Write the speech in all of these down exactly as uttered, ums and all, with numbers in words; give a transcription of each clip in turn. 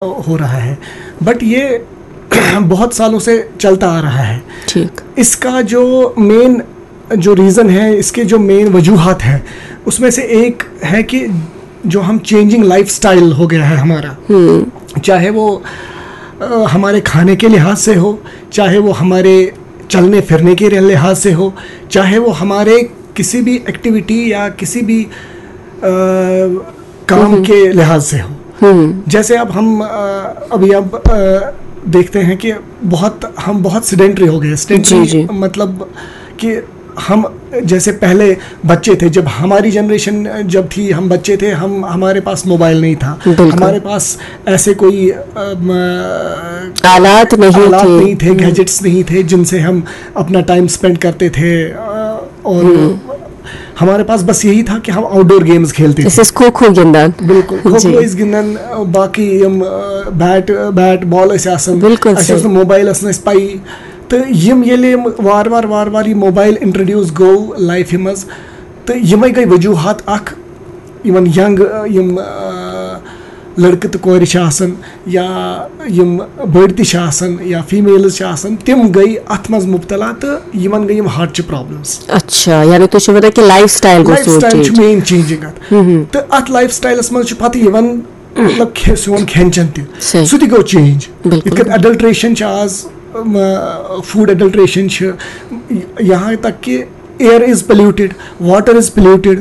हो रहा है, बट ये बहुत सालों से चलता आ रहा है। ठीक। इसका जो मेन जो रीज़न है, इसके जो मेन वजूहात हैं, उसमें से एक है कि जो हम चेंजिंग लाइफस्टाइल हो गया है हमारा, चाहे वो अ, हमारे खाने के लिहाज से हो, चाहे वो हमारे चलने फिरने के लिहाज से हो, चाहे वो हमारे किसी भी एक्टिविटी या किसी भी अ, काम के लिहाज से हो। जैसे अब हम अ, अभी अब अ, देखते हैं कि बहुत हम बहुत सिडेंटरी हो गए। जी, सिडेंटरी जी। मतलब कि हम जैसे पहले बच्चे थे, जब हमारी जनरेशन जब थी, हम बच्चे थे, हम हमारे पास मोबाइल नहीं था, बिल्कुल। हमारे पास ऐसे कोई अ, म, आलात नहीं आलात थे। नहीं थे, गैजेट्स नहीं थे जिनसे हम अपना टाइम स्पेंड करते थे अ, और हमारे पास बस यही था कि हम आउटडोर गेम्स खेलते थे। أسۍ ٲسۍ کھو کھو گِنٛدان۔ بالکل، کھو جی۔ کھو ٲسۍ گِنٛدان، باقٕے یِم بیٹ بیٹ بال ٲسۍ آسان، بالکل اَسہِ اوس صحیح۔ نہٕ موبایل ٲس نہٕ اَسہِ پَیی۔ تہٕ یِم ییٚلہِ یِم وارٕ وارٕ وارٕ وارٕ یہِ موبایل اِنٹرڈیوٗس گوٚو لایفہِ منٛز، تہٕ یِمے گٔے وجوٗہات اکھ، یِمن ینگ یِم آ، لڑکہٕ تہٕ کورِ چھِ آسان یا یِم بٔڑۍ تہِ چھِ آسان یا فیمیلز چھِ آسان، تِم گٔے اتھ منٛز مبتلا تہٕ یِمن گٔے یِم ہارٹ چہِ پرابلمز۔ اچھا، یعنی تُہۍ چھِو وَنان کہِ لایف سٹایل گوٚو لایف سون سٹایل چینج۔ چھُ مین چینجنگ اتھ۔ تہٕ اتھ لایف سٹایلس منٛز چھُ پتہٕ یِوان مطلب کھے- سون کھٮ۪ن چٮ۪ن تہِ، صحیح۔ سُہ تہِ گوٚو چینج۔ بِلکُل۔ یِتھ کٔنۍ اڈلٹریشن چھِ آز، فوڈ اڈلٹریشن چھِ، یہاں تک کہ air is polluted, water is polluted,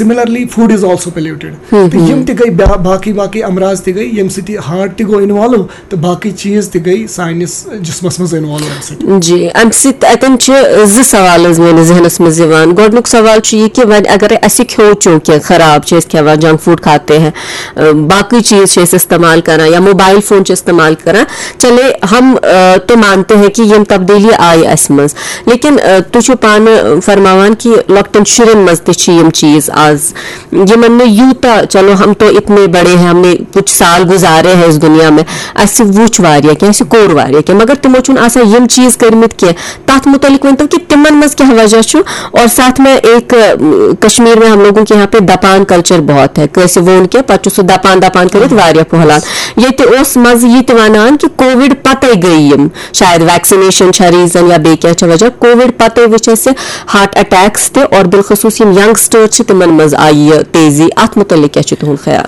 similarly food is also polluted. تہٕ یِم تہِ گٔے بیا- باقٕے باقٕے امراض تہِ گٔے، ییٚمہِ سۭتۍ یہِ ہارٹ تہِ گوٚو انوالو تہٕ باقٕے چیٖز تہِ گٔے سٲنِس جسمس منٛز انوالو امہِ سۭتۍ۔ جی، امہِ سۭتۍ اتٮ۪ن چھِ زٕ سوال حظ میٲنِس ذہنس منٛز یِوان۔ گۄڈٕنیُک سوال چھُ یہِ کہِ وۄنۍ اگرے اسہِ کھیوٚو چونکہ خراب چھِ أسۍ کھٮ۪وان، جنک فوڈ کھاتے ہیں، اۭں، باقٕے چیٖز چھِ أسۍ استعمال کران یا موبایل فون چھِ استعمال کران، چلے ہم اۭں، تو مانتے ہیں کہ یِم تبدیلی آیہِ اسہِ منٛز، لیکن اۭں، تُہۍ چھِو پانہٕ فرماوان کہ لۄکٹٮ۪ن شُرٮ۪ن منٛز تہِ چھِ یِم چیٖز آز، یِمن نہٕ یوٗتاہ، چلو ہم تو اتنے بڑے ہیں، ہم نے کچھ سال گزارے ہیں اس دنیا میں، اسہِ وُچھ واریاہ کینٛہہ، اسہِ کوٚر واریاہ کینٛہہ، مگر تِمو چھُنہٕ آسان یِم چیٖز کٔرمٕتۍ کینٛہہ۔ تتھ متعلق ؤنۍ تو کہ تِمن منٛز کیٛاہ وجہ چھُ؟ اور ساتھ میں ایک اۭں، کشمیر میں ہم لوگوں کے یہاں پہ دپان کلچر بہت ہے، کٲنٛسہِ ووٚن کینٛہہ پتہٕ چھُ سُہ دپان دپان کٔرِتھ واریاہ پھۄلان۔ ییٚتہِ اوس منٛزٕ یہِ تہِ ونان کہ کووِڈ پتے گٔے یِم، شاید ویکسِنیشن چھا ریزن یا بیٚیہِ کینٛہہ چھا وجہ، کووِڈ پتے وٕچھ اسہِ ہارٹ اٹیکس تہِ، اور بالخصوص یِم ینگسٹر چھِ تِمن منٛز آیہِ یہِ تیزی، اتھ متعلق کیٛاہ چھُ تُہُنٛد خیال؟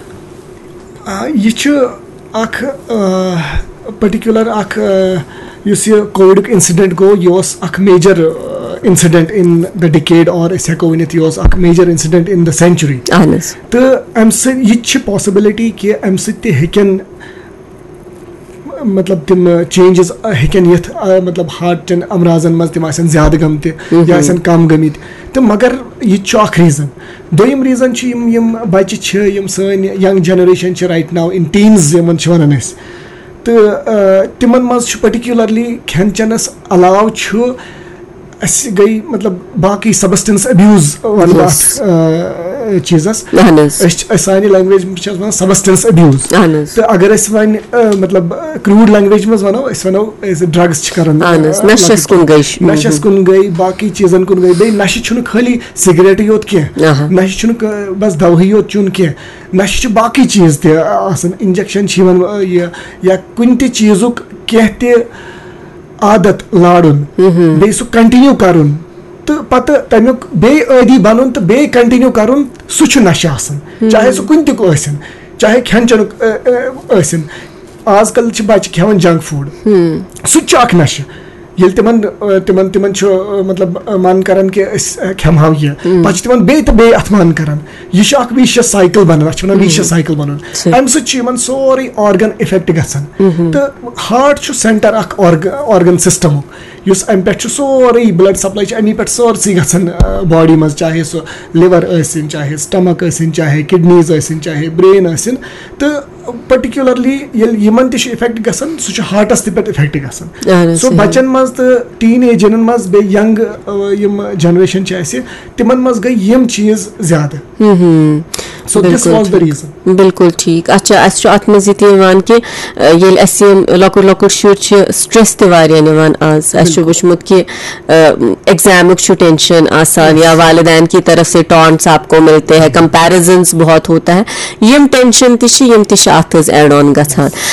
آ، یہِ چھُ اکھ پٔٹِکیوٗلر اکھ آ، یُس یہِ کووِڈُک انسیڈنٹ گوٚو، یہِ اوس اکھ major incident in the decade، اور أسۍ ہٮ۪کو ؤنِتھ یہِ اوس اکھ major incident in the century۔ اہن حظ۔ تہٕ امہِ سۭتۍ یہِ تہِ چھِ پاسبلٹی کہِ امہِ سۭتۍ تہِ ہیٚکن مطلب تِم چینجز ہیٚکن یِتھ، آ، مطلب ہارٹ چٮ۪ن امراضن منٛز تِم آسن زیادٕ گٔمتہِ یا آسن کم گٔمٕتۍ۔ تہٕ مگر یہِ تہِ چھُ اکھ ریزن۔ دوٚیِم ریزن چھُ یِم یِم بچہِ چھِ، یِم سٲنۍ ینگ جنریشن چھِ right now in teens یِمن چھِ ونان أسۍ، تہٕ آ، تِمن منٛز چھُ پٔٹِکیوٗلرلی کھٮ۪ن چٮ۪نس علاوٕ چھُ اسہِ گٔے مطلب باقٕے سبسٹنس ابیوز ونہٕ بہٕ Yes۔ اتھ آ، چیٖزس۔ اہن حظ۔ أسۍ چھِ أسۍ سانہِ لینگویج چھِ اتھ ونان سبسٹنس ابیوز۔ اہن حظ۔ تہٕ اگر أسۍ وۄنۍ آ، مطلب کروٗڈ لینگویج منٛز ونو، أسۍ ونو أسۍ ڈرگس چھِ کران اہن حظ، آ، نشس کُن گٔے۔ نشس کُن گٔے، باقٕے چیٖزن کُن گٔے، بیٚیہِ نشہِ چھُنہٕ خٲلی سگریٹٕے یوت کینٛہہ، آہا۔ نشہِ چھُنہٕ ک- بس دوہٕے یوت چیوٚن کینٛہہ، نشہِ چھِ باقٕے چیٖز تہِ آسان، انجیکشن چھِ یِوان آ، یہِ یا کُنہِ تہِ چیٖزُک کینٛہہ تہِ عادت لارُن، بیٚیہِ سُہ کنٹِنیو کرُن تہٕ پتہٕ تمیُک بیٚیہِ عٲدی بنُن تہٕ بیٚیہِ کنٹِنیو کرُن، سُہ چھُ نشہِ آسان، چاہے سُہ کُنہِ تہِ ٲسِن، چاہے کھٮ۪ن چٮ۪نُک آ، آ، ٲسِن۔ آز کل چھِ بچہِ کھٮ۪وان جنک فوڈ، سُہ تہِ چھُ اکھ نشہِ۔ ییٚلہِ تِمن آ، تِمن تِمن چھُ آ، مطلب آ، من کران کہِ أسۍ آ، کھٮ۪مہٕ ہاو یہِ، پتہٕ چھِ تِمن بیٚیہِ تہٕ بیٚیہِ اتھ من کران۔ یہِ چھُ اکھ ویشیس سایکل بنان، اتھ چھِ ونان ویشیس سایکل بنُن۔ صحیح۔ امہِ سۭتۍ چھُ یِمن سورُے آرگن افیکٹ گژھان۔ تہٕ ہارٹ چھُ سینٹر اکھ آرگن سسٹمُک، یُس امہِ پٮ۪ٹھ چھُ سورُے بلڈ سپلاے چھِ امی پٮ۪ٹھ سٲرسٕے گژھان باڈی منٛز، چاہے سُہ لِور ٲسِن، چاہے سٹمک ٲسِن، چاہے کڈنیز ٲسِن، چاہے برین ٲسِن۔ تہٕ پٔٹِکیوٗلرلی ییٚلہِ یِمن تہِ چھُ افیکٹ گژھان، سُہ چھُ ہارٹس تہِ پٮ۪ٹھ افیکٹ گژھان۔ اہن حظ، سو صحیح۔ بچن منٛز تہٕ ٹیٖن ایجن منٛز بیٚیہِ ینگ یِم جنریشن چھِ اسہِ، تِمن منٛز گٔے یِم چیٖز زیادٕ۔ سو دِس بِلکُل واز دا ٹھیٖک۔ ریٖزن۔ بِلکُل ٹھیٖک۔ اچھا، اسہِ چھُ اتھ منٛز یہِ تہِ یِوان کہِ آ، ییٚلہِ اسہِ یِم لۄکُٹ لۄکُٹ شُرۍ چھِ، سٹریس تہِ واریاہ نِوان آز۔ اسہِ چھُ وٕچھمُت کہِ ایگزامُک چھُ ٹینشن آسان یا والدین کی طرف سے ٹانٹس آپ کو ملتے ہیں، کمپیرزنس بہت ہوتا ہے۔ یِم ٹینشن تہِ چھِ، یِم تہِ چھِ اتھ حظ ایڈ آن گژھان۔